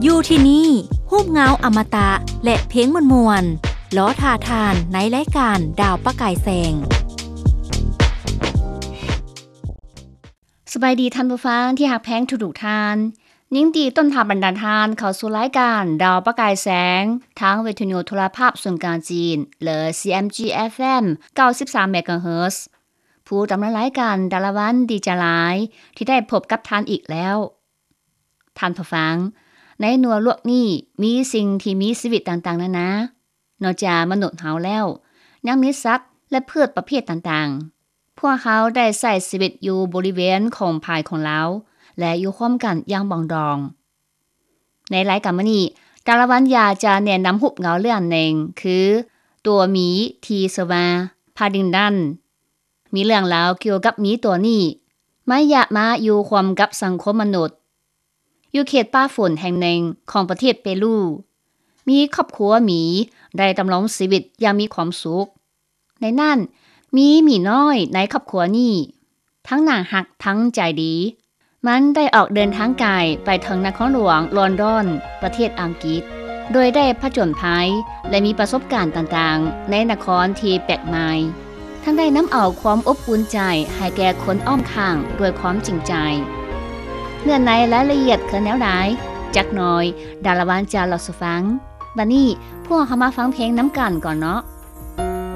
ຢູ່ທີ່ນີ້ ຮູບເງົາອະມະຕະ ແລະ ເພງມ່ວນໆ ລໍຖ້າທ່ານໃນລາຍການດາວປະກາຍແສງ. ສະບາຍດີທ່ານຜູ້ຟັງທີ່ຮັກແພງທຸກໆທ່ານ. ຍິນດີຕ້ອນຮັບບັນດາທ່ານເຂົ້າສູ່ລາຍການດາວປະກາຍແສງ ທາງວິທະຍຸໂທລະພາບສູນກາງຈີນ ຫຼື ຊີເອັມຈີ ເອັຟເອັມ ເກົ້າສິບສາມເມກາເຮີດ. ຜູ້ດຳເນີນລາຍການ ດາລະວັນ ດີໃຈຫຼາຍທີ່ໄດ້ພົບກັບທ່ານອີກແລ້ວ. ທ່ານຜູ້ຟັງ, ໃນນົວໂລກນີ້ມີສິ່ງທີ່ມີຊີວິດຕ່າງໆນານາ. ນອກຈາກມະນຸດເຮົາແລ້ວ, ຍັງມີສັດ ແລະ ພືດປະເພດຕ່າງໆ. ພວກເຮົາໄດ້ໃຊ້ຊີວິດຢູ່ບໍລິເວນຂອງພາຍຂອງລາວ ແລະ ຢູ່ຮ່ວມກັນຢ່າງປອງດອງ. ໃນລາຍການມື້ນີ້, ດາລະວັນຢາກຈະແນະນຳຮູບເງົາເລື່ອງໜຶ່ງ ຄື ຕົວໝີທີ່ຊື່ວ່າ Paddington. ມີເລື່ອງລາວກ່ຽວກັບໝີຕົວນີ້. ມັນຢາກມາຢູ່ຮ່ວມກັບສັງຄົມມະນຸດ ຢູ່ເຂດປ່າຝົນແຫ່ງໜຶ່ງຂອງປະເທດເປຣູ. ມີຄອບຄົວໝີໄດ້ດຳລົງຊີວິດຢ່າງມີຄວາມສຸກ. ໃນນັ້ນມີໝີນ້ອຍໃນຄອບຄົວນີ້ ທັງໜ້າຮັກທັງໃຈດີ. ມັນໄດ້ອອກເດີນທາງໄກໄປເຖິງນະຄອນຫຼວງລອນດອນ ປະເທດອັງກິດ ໂດຍໄດ້ຜະຈົນໄພ ແລະ ມີປະສົບການຕ່າງໆໃນນະຄອນທີ່ແປກໃໝ່. ທັງໄດ້ນຳເອົາຄວາມອົບອຸ່ນໃຈໃຫ້ແກ່ຄົນອ້ອມຂ້າງດ້ວຍຄວາມຈິງໃຈ. ເນື້ອໃນລາຍລະອຽດຄືແນວໃດ? ຈັກໜ້ອຍ ດາລະວັນຈະເລົ່າສູ່ຟັງ. ບັດນີ້ພວກເຮົາມາຟັງເພງນຳກັນກ່ອນເນາະ.